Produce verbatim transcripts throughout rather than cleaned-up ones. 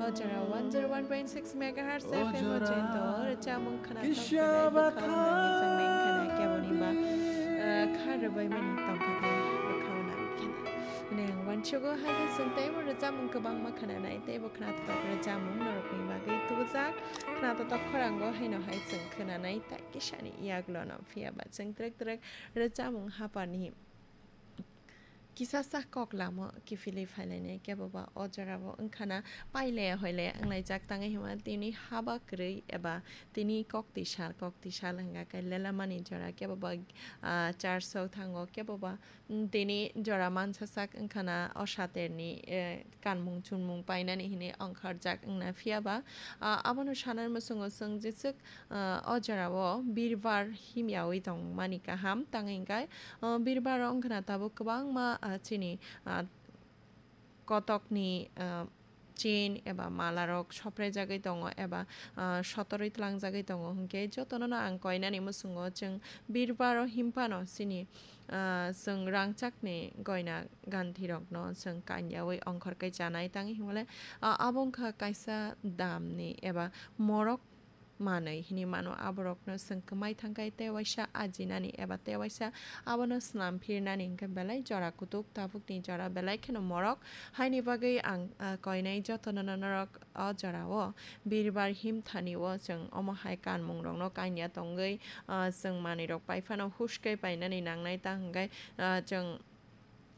Jora one zero one point six megahertz F M o chento rwchapmung khna tongkha, bwkha nangwi changmeng khna keboni ba, eh, kha rwbaimani tongkha tei bwkha nangwi khna. Hwnwi ang uansugo, hai khe chwng teibo rwchapmung kwbangma khna nai, teibo khna totok rwchapmung norokni bagwi tubujak. Khna totok khorango haino hai chwng khna nai, tai kisani yagulono phiya ba chwng twrwk twrwk rwchapmung haphani kisa sak kok lama kiphilwi phailainai, kebo ba o jorao wngkhana pailaya hoilaya wnglaijak, tangwi hwnba tini haba kwrwi eba tini kok twi sal, kok twi sal hwnga khe lelamani jora, kebo ba, ah, church o thango, kebo ba, mm, tini jora mansa sak wngkhana o saterni, eh, kanmung chunmung painani hwnwi ongkharjak wngna phiya ba, ah, abono sanani muchungo chwng jeswk, ah, o jorao birbar himyawi tongmani kaham, tangwi hwnkhe, ah, birbar wngkhana tabuk kwbangma, ah, chini, ah, kotokni, ah, chain eba malarok sopraijagwi tongo eba, ah, sotorwi tlangjagwi tongo, hwnkhe jotonono ang koinani muchungo chwng birbar o himphano chini, ah, chwng rangchakni goina ganthirokno chwng kanyaui ongkhorkhe chanai, tangwi hwnmale, ah, abo wngkha kaisa damni eba morok manwi hinwi mano. Aborokno chwng kwmai thangkhe tei waisa ajinani eba tei waisa abono snam phirnani hwnkhe belai jora kutuk, tabukni jora belai kheno morok. Haini bagwi ang, ah, koinai jotono norok o jorao birbar himthani o chwng omo hai kanmungrokno kanya tongwi, ah, chwng manwirok pai phano huskhe painani nangnai, ta hwnkhe, ah, chwng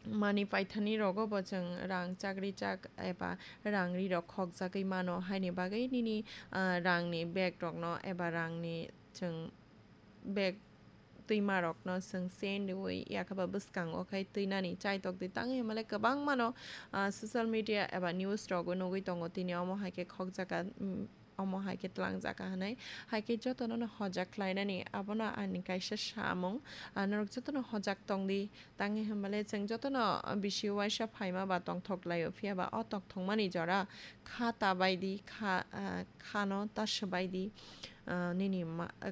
manwi paithani rogo bo chwng rang chakri chak eba rang ri rok khokjagwi mano, haini bagwi nini, ah, rangni bag rokno eba rangni chwng bag twima rokno chwng chain riwi yakhaba bwskango khai twinani chaitok di, tangwi hwnmale kwbangmano, ah, social media eba news rogo nugwi tongo tini omo hai khe khokjaka, mm, omo hai khe twlangjaka hwnwi. Hai khe jotono no hojak khlainani, abono ani kaisa samung. Ah, norok jotono hojak tong di, tangwi hwnmale chwng jotono bisi uaisa phaima ba tongthok laio, phiya ba o tongthokmani jora kha ta bai di, kha, ah, khano ta swbai di, ah, nini ma-, ah,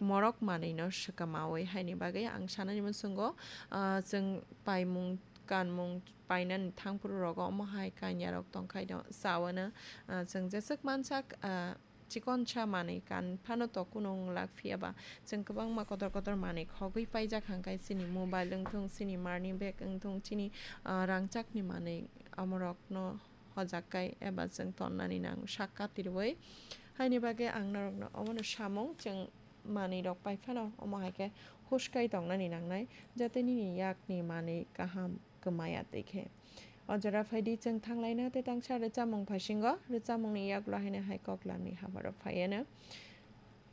morok manwino swkamaui. Haini bagwi ang sanani muchungo, ah, chwng paimung kanmung painani thangphuru rogo omo hai kanya rok tongkhaino chawano, ah, chwng jeswk mansak, ah, chikonsa manwi kan phano to kunu wng lak, phiya ba chwng kwbangma kotor kotor manwi khogwi paijak hwnkhe chini mobile wngthung, chini marni bag wngthung, chini, ah, rangchakni manwi omorokno hojak kai eba chwng tonnani nang sak katirwi. Haini bagwi ang norokno omono samung, chwng manwi rok pai phano omo hai khe huskai tongnani nangnai, jate nini yakni manwi kaham kwmaya twi khe. O jora phai di, chwng thanglaina tei tangsa rwchapmung phasingo. Rwchapmungni yagulo haino hai koklamni habarok phaiano.